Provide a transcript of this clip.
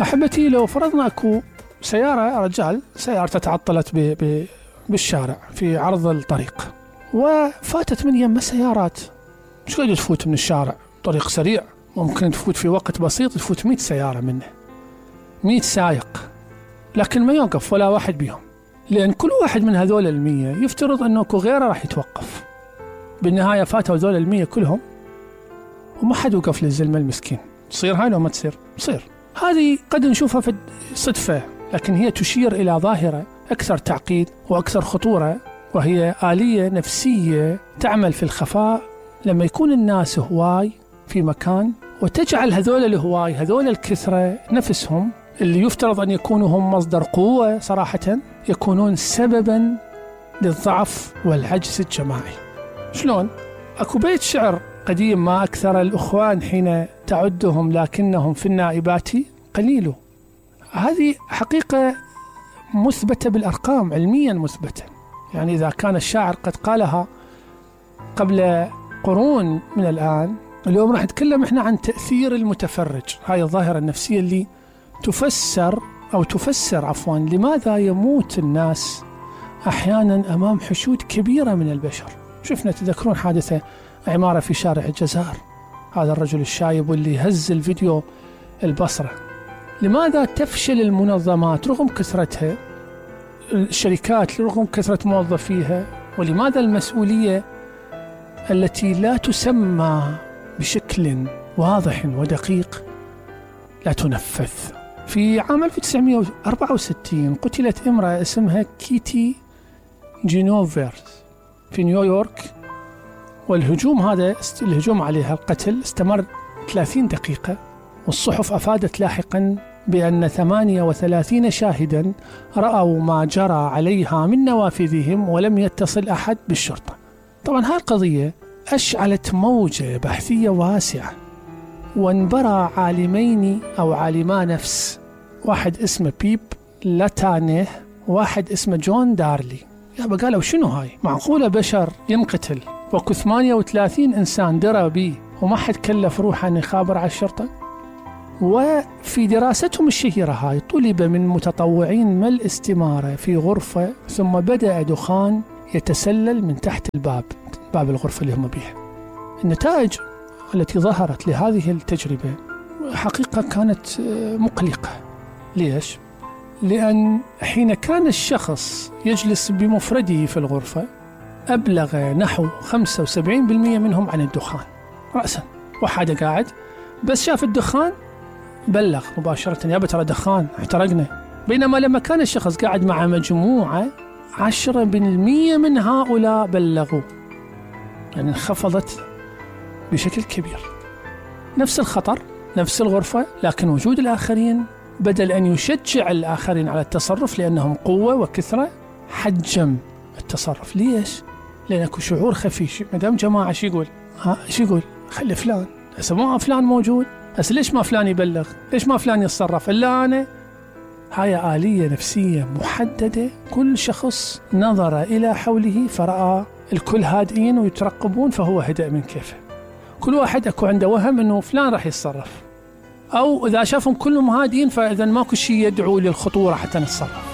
أحبتي، لو فرضنا أكو سيارة رجال سيارته تعطلت بالشارع في عرض الطريق، وفاتت من يمه سيارات، مش قاعد تفوت من الشارع طريق سريع، ممكن تفوت في وقت بسيط، تفوت 100 سيارة منه، 100 سائق، لكن ما يوقف ولا واحد بيهم، لأن كل واحد من هذول 100 يفترض أنه أكو غيره راح يتوقف. بالنهاية فاتوا هذول 100 كلهم وما حد وقف للزلمة المسكين. تصير هاي لو ما تصير؟ تصير. هذه قد نشوفها في صدفة، لكن هي تشير إلى ظاهرة أكثر تعقيد وأكثر خطورة، وهي آلية نفسية تعمل في الخفاء لما يكون الناس هواي في مكان، وتجعل هذول الهواي، هذول الكثرة نفسهم اللي يفترض أن يكونوا هم مصدر قوة صراحة، يكونون سببا للضعف والعجز الجماعي. شلون؟ أكو بيت شعر قديم: ما أكثر الأخوان حين تعدهم لكنهم في النائبات قليل. هذه حقيقة مثبتة بالأرقام، علميا مثبتة. يعني إذا كان الشاعر قد قالها قبل قرون من الآن، اليوم راح نتكلم إحنا عن تأثير المتفرج، هاي الظاهرة النفسية اللي تفسر لماذا يموت الناس أحيانا أمام حشود كبيرة من البشر. شفنا، تذكرون حادثة عمارة في شارع الجزائر، هذا الرجل الشايب واللي هز الفيديو البصرة. لماذا تفشل المنظمات رغم كثرتها، الشركات رغم كثرة موظفيها، ولماذا المسؤولية التي لا تسمى بشكل واضح ودقيق لا تنفذ؟ في عام 1964 قتلت امرأة اسمها كيتي جينوفرز في نيويورك، الهجوم عليها، القتل استمر 30 دقيقة، والصحف أفادت لاحقا بأن 38 شاهدا رأوا ما جرى عليها من نوافذهم ولم يتصل أحد بالشرطة. طبعا هذه القضية أشعلت موجة بحثية واسعة، وانبرى عالمين أو عالما نفس، واحد اسمه بيب لاتانيه، واحد اسمه جون دارلي. قالوا شنو هاي؟ معقولة بشر ينقتل وكو 38 إنسان درى به وما حد كلف روحه أن يخابر على الشرطة؟ وفي دراستهم الشهيرة هاي طلب من متطوعين ما الاستمارة في غرفة، ثم بدأ دخان يتسلل من تحت باب الغرفة اللي هم بيها. النتائج التي ظهرت لهذه التجربة حقيقة كانت مقلقة. ليش؟ لأن حين كان الشخص يجلس بمفرده في الغرفة أبلغ نحو 75% منهم عن الدخان رأسا. واحد قاعد بس شاف الدخان بلغ مباشرة: يا ترى دخان، احترقنا. بينما لما كان الشخص قاعد مع مجموعة 10% من هؤلاء بلغوا، يعني انخفضت بشكل كبير. نفس الخطر، نفس الغرفة، لكن وجود الآخرين بدل أن يشجع الآخرين على التصرف لأنهم قوة وكثرة، حجم التصرف. ليش؟ لأنك شعور خفي. مدام جماعة شو يقول؟ خلي فلان، هسه ما فلان موجود، هسه ليش ما فلان يبلغ؟ ليش ما فلان يتصرف إلا أنا؟ هاي آلية نفسية محددة. كل شخص نظر إلى حوله فرأى الكل هادئين ويترقبون، فهو هدأ من كيفه. كل واحد أكو عنده وهم أنه فلان راح يتصرف، أو إذا شافهم كلهم هادئين فإذا ماكو شيء يدعو للخطورة حتى نتصرف.